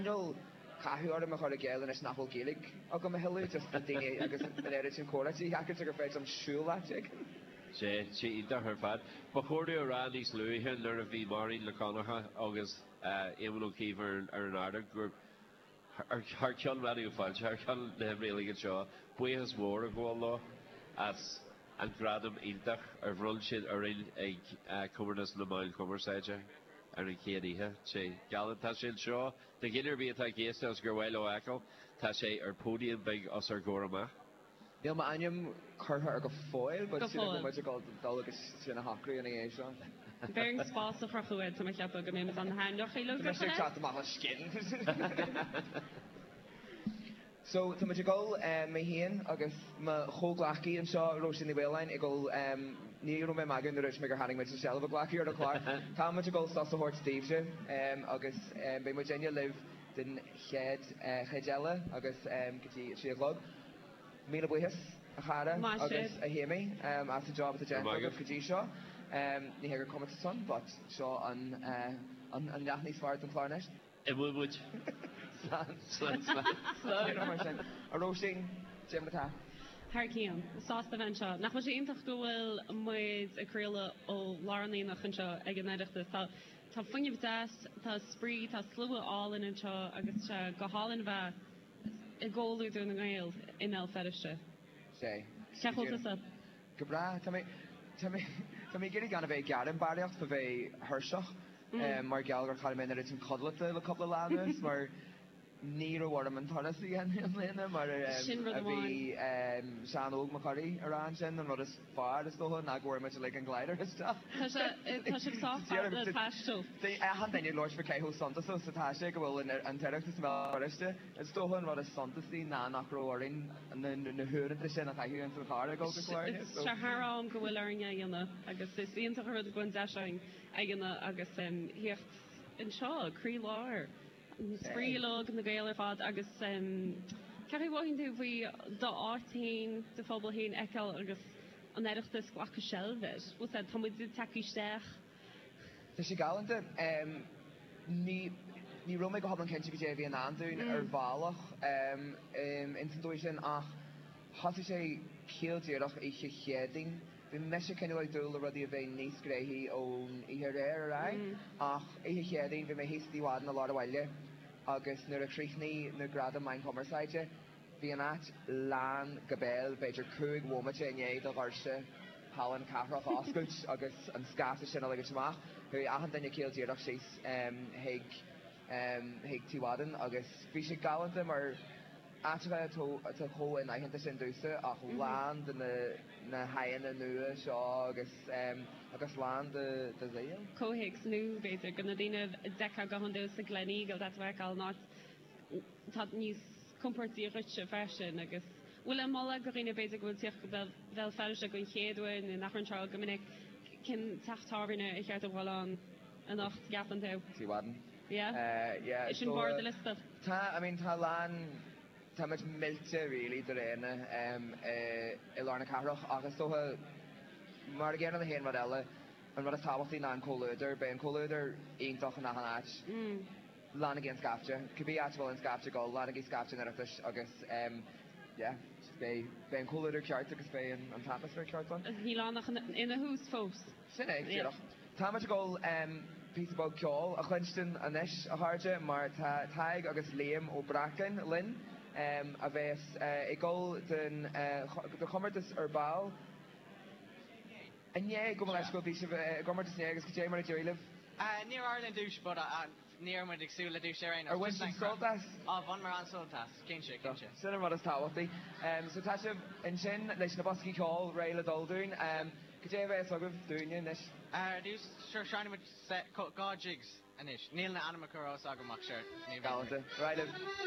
cineál cathú orm a chur i gcéill anois nach bhfuil Gaeilge agam a thuilleadh, just na daoine agus an oiread sin comhráití a sheachaint gur féidir liom siúl áit éigin. Sea, sé iontach ar fad. Ba chóir dom a rá níos luaithe nuair a bhí Máirín Nic Dhonncha agus Éamon Ó Cuív ar an ardán gur thar ceann Raidió Fáilte, thar ceann na hoibre uilig anseo, buíochas mór a ghabháil leo as an gradam iontach ar bhronn siad orainn ag Comórtas na Meán Cumarsáide ar an chéad oíche. Sé galánta. Tá sé anseo do dhuine ar bith atá ag éisteacht agus gur mhaith leo a fheiceáil, tá sé ar pódium beag os ár gcomhair amach. Níl m'ainm curtha air go fóill but Go sílim go fóill. bhfuil muid ag dul dul agus sin a shocrú ina dhiaidh seo. Bheir an spás a chrochadh air, tá mé ag ceapadh go mbeidh muid ann na hainmneacha Tá mise ag teacht amach le skin. So tá muid ag dul, mé féin agus mo chomhghleacaí anseo, Róisín Ní Mhaoláin, ag dul, ní raibh mé ag magadh nuair a dúirt mé gur tháinig muid le seilbh a ghlacadh ar an chlár. Tá muid ag dul sos a thabhairt daoibhse agus beidh muidinne libh den chéad chuid eile agus go dtí a 3 a chlog. Míle buíochas, a chara agus a Shéimí, as an job atá déanta agaibh go dtí seo. Ní hé gur comórtas ann, but seo an an leath níos fearr den chlár anois. Imeoidh muid. Slán. Slán, slán. Slán. Mar sin. A Róisín, cad é mar atá? Thar cionn. Sásta bheith anseo. Nach bhfuil sé iontach go bhfuil muid ag craoladh ó lár an aonaigh anseo ag an Oireachtas. Tá tá fuinneamh deas, tá spraoi, tá slua álainn anseo agus tá sé go hálainn bheith i gcomhluadar na nGael i mBéal Feirste. Sé. Cén chaoi a bhfuil tusa? Go breá. Tá mé, tá mé, tá mé ag iarraidh gan a bheith ag gearán barraíocht fá bheith thuirseach mar gheall gur chaill mé an oiread sin codlata le cúpla lá anuas mar ní raibh orm an turas a dhéanamh i mbliana mar a bhí Seán Óg Mac Corraidh a rá ansin, an rud is fearr is dócha ná go bhfuair muid uilig an glider isteach. Tá sé, tá sibh sách fada le taisteal. Achan duine ag labhairt fá cé chomh suntasach is atá sé go bhfuil an tOireachtas i mBéal Feirste. Is dócha an rud is suntasaí ná nach raibh orainn na huaireanta sin a chaitheamh ins an charr ag dul go Clár. Tá sé thar am go bhfuil orainn é a dhéanamh agus is iontach an rud go bhfuil an deis againn é a dhéanamh agus theacht anseo, croílár an spraoi uilig, na Gaeil ar fad agus cén chaoi a mhothaíonn tú faoi d'áit féin, do phobal féin a fheiceáil agus an Oireachtas glacadh seilbh air? Bhfuil a fhios agat, tá muid ag teacht isteach. Tá sé galánta. Ní ní raibh mé go hiomlán cinnte goidé a bhí i ndán dúinn ar bhealach ins an dóigh sin ach thosaigh sé ciall díreach oíche Chéadaoin. Bhí mise cineál ag dúil le rudaí a bheith níos gnoithí ón oíche aréir ar aghaidh ach oíche Chéadaoin bhí mé thíos i dTigh Mhadden i lár an bhaile agus nuair a chríochnaigh na Gradaim Meán Cumarsáide bhí an áit lán go béal, b'fhéidir 5 bhomaite i ndiaidh do dhoirse Halla na Cathrach a oscailt agus an scaifte sin a ligint amach. Chuaigh achan duine ciall díreach síos chuig chuig Tigh Mhadden agus bhí sé galánta mar áiteacha atá chomh inaitheanta sin domhsa ach lán de na haghaidheanna nua seo agus agus lán de de Ghaeil. Comhthéacs nua, b'fhéidir, do na daoine a d'fheicfeá go hiondúil sa Gleneagle, d'fhéadfá a fheiceáil in áit atá níos compordaí dhuitse freisin agus bhfuil aon mholadh do dhaoine b'fhéidir go bhfuil tíocht go Béal Feirste don chéad uair nó nach raibh anseo go minic, cén teach tábhairne ar cheart a dhul ann anocht, gceapann tú? Tigh Mhadden. Yeah? Yeah, Sin barr do liosta? Tá, I mean tá a lán, tá muid millte really de roghanna i lár na cathrach ach is dócha mar a gcéanna le haon rud eile, an rud is tábhachtaí ná an comhluadar, beidh an comhluadar iontach in achan áit. Leanaigí an scaifte, cibé áit a bhfuil an scaifte ag dul, leanaigí scaifte an Oireachtais agus yeah, beidh beidh an comhluadar ceart agus beidh an an t-atmaisféar ceart ann. Níl ann ach ina thús fós. Sin é, díreach. Tá muid ag dul píosa beag ceoil a chluinstin anois, a chairde, mar tá Tadhg agus Liam Ó Breacáin linn, a bheas ag dul don do chomórtas ar ball. Inné, gabh mo leithscéal, bhí sibh i gcomórtas inné agus cad é mar a d'éirigh libh? Níor éirigh linn duais but ní raibh muid ag súil le duais ar aon nós. Ar bhain sibh sult as? Á, bhaineamar an-sult as, cinnte, cinnte. Sin an rud is tábhachtaí. So tá sibh ansin leis na boscaí ceoil réidh le dul dúinn. Cad é a bheas agaibh dúinne anois? Ar dtús, sure, seinnfidh muid set, dhá jigs anois. Níl na ainmneacha ar eolas agam ach sure, ní bheidh. Galánta. Ar aghaidh libh.